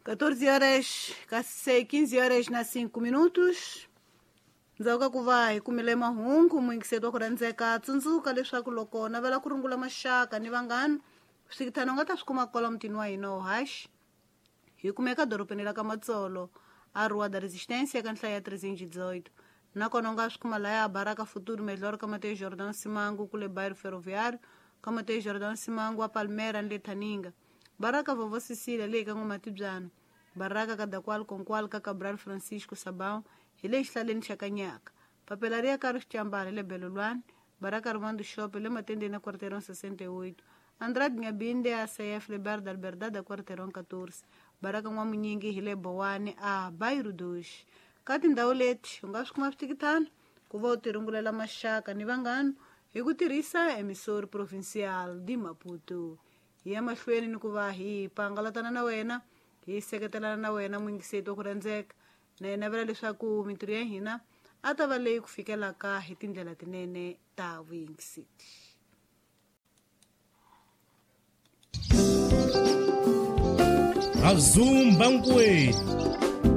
14 horas, kasi 15 horas na 5 minutos. Ndzhaku ka ku va hi kumile mahungu muyingiseri wa ku rhandzeka, tsundzuka leswaku loko navela ku rungula maxaka ni vanghana, swikithana u nga ta swi kuma kwala mutini wa hina wo haxi. Hi kumeka dorobeni ra ka Matsolo, a Rua da Resistência ka nhlayo ya 318. Nakona u nga swi kuma laya Baraka Futuro Melhor ka Mateus Jordão Simango kule Bairro Ferroviário, ka Mateus Jordão Simango a Palmeiras ni le Thaninga. Baraka Vovó Cecília leyi ka N'wamatibyana. Baraka ka Dakwal Konkwal ka Cabral Francisco Sabão hi le xihlaleni xa Kanyaka. Papela ri ya ka Rixicambala hi le Belolwane. Baraka Armando Shop hi le Matendeni ya Quarteirão 68. Andrade Nyabinde a CF le Bar da Liberdade a Quarteirão 14. Baraka N'wamunyingi hi le Bowani a Bairro 2. Ka tindhawu leti u nga swi kuma switikitana ku va u tirungulela maxaka ni vanghana hi ku tirhisa Emissor Provincial de Maputo. Hi ya mahlweni ni ku va hi pangalatana na wena, hi seketelana na wena muyingiseti wa ku rhandzeka. Na hi navela leswaku mintirho ya hina a ta va leyi ku fikelaka hi tindlela tinene ta vuyingiseti. Azumba nkwenu.